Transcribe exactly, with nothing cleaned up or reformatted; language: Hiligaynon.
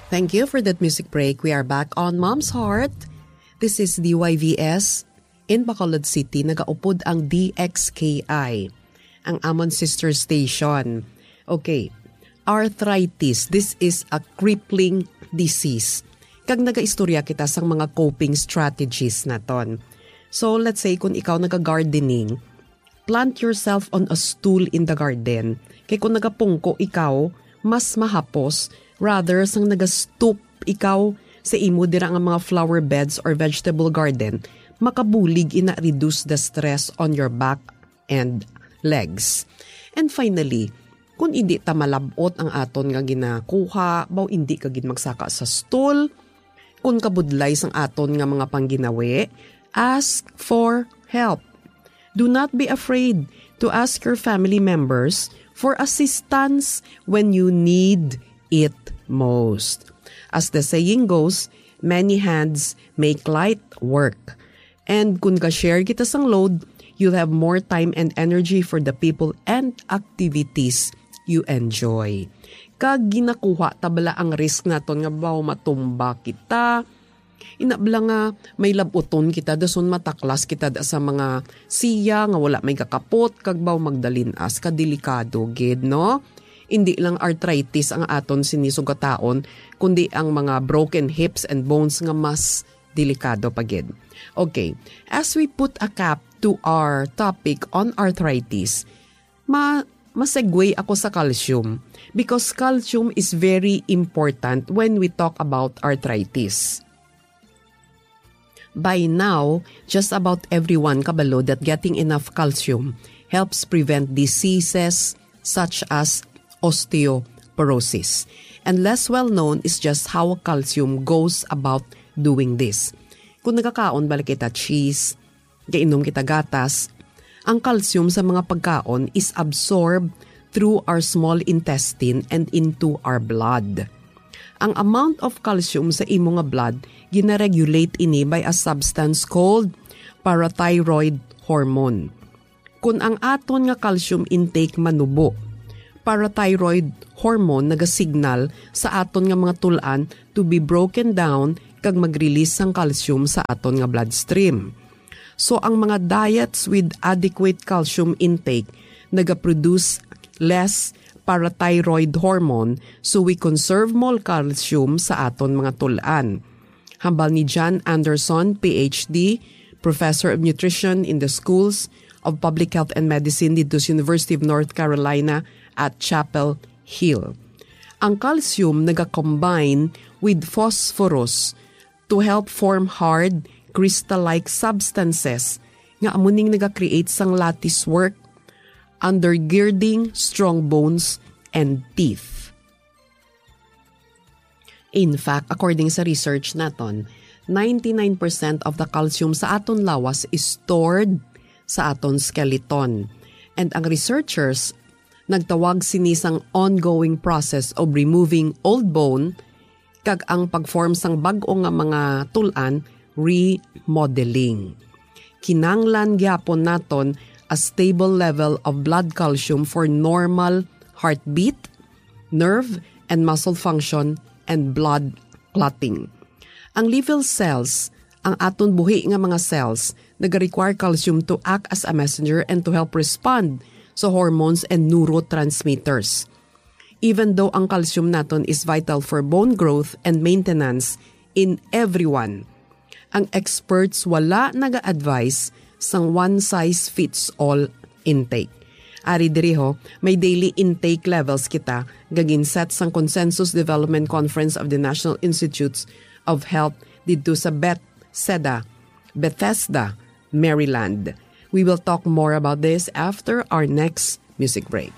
Thank you for that music break. We are back on Mom's Heart. This is D Y V S. In Bacolod City, nagaupod ang D X K I, ang amon sister station. Okay. Arthritis, this is a crippling disease. Kag nagaistorya kita sang mga coping strategies naton. So, let's say, kung ikaw naga-gardening, plant yourself on a stool in the garden. Kay kung nagapungko ikaw, mas mahapos rather sang nagastoop ikaw sa imo dira nga mga flower beds or vegetable garden, makabulig ina reduce the stress on your back and legs. And finally, kung hindi ta malabot ang aton nga ginakuha, baw hindi ka gid magsaka sa stool, kung kabudlay sang aton nga mga pangginawi, ask for help. Do not be afraid to ask your family members for assistance when you need it most. As the saying goes, many hands make light work. And kung ka-share kita sang load, you'll have more time and energy for the people and activities you enjoy. Kag ginakuha ta bala ang risk naton nga baw matumba kita. Ina bala nga may labuton kita, dason mataklas kita da sa mga siya nga wala may kakapot, kag baw magdalin-as, kadelikado gid, no? Hindi lang arthritis ang aton sini sugataon, kundi ang mga broken hips and bones nga mas delikado pa gid. Okay, as we put a cap to our topic on arthritis, ma masegue ako sa calcium, because calcium is very important when we talk about arthritis. By now, just about everyone kabalo that getting enough calcium helps prevent diseases such as osteoporosis. And less well known is just how calcium goes about doing this. Kung nagakaon bala kita cheese, gainom kita gatas, ang calcium sa mga pagkaon is absorbed through our small intestine and into our blood. Ang amount of calcium sa imo nga blood ginaregulate ini by a substance called parathyroid hormone. Kun ang aton nga calcium intake manubo, parathyroid hormone nagasignal sa aton nga mga tul-an to be broken down kag mag-release sang calcium sa aton nga bloodstream. So, ang mga diets with adequate calcium intake nagaproduce less parathyroid hormone, so we conserve more calcium sa aton mga tul-an. Hambal ni John Anderson, P H D, Professor of Nutrition in the Schools of Public Health and Medicine dito sa University of North Carolina at Chapel Hill. Ang calcium nagakombine with phosphorus to help form hard, crystal-like substances nga amo ning nagakreate sang lattice work, undergirding strong bones and teeth. In fact, according sa research naton, ninety-nine percent of the calcium sa aton lawas is stored sa aton skeleton. And ang researchers nagtawag sini sang ongoing process of removing old bone, kag ang pag-form sang bag-o nga mga tul-an, remodeling. Kinanglan gyapon naton a stable level of blood calcium for normal heartbeat, nerve and muscle function, and blood clotting. Ang liver cells, ang aton buhi nga mga cells, nagarequire calcium to act as a messenger and to help respond sa hormones and neurotransmitters. Even though ang calcium naton is vital for bone growth and maintenance in everyone, ang experts wala naga-advise sang one size fits all intake. Ari diri ho, may daily intake levels kita nga gin-set sang Consensus Development Conference of the National Institutes of Health didto sa Bethesda, Bethesda, Maryland. We will talk more about this after our next music break.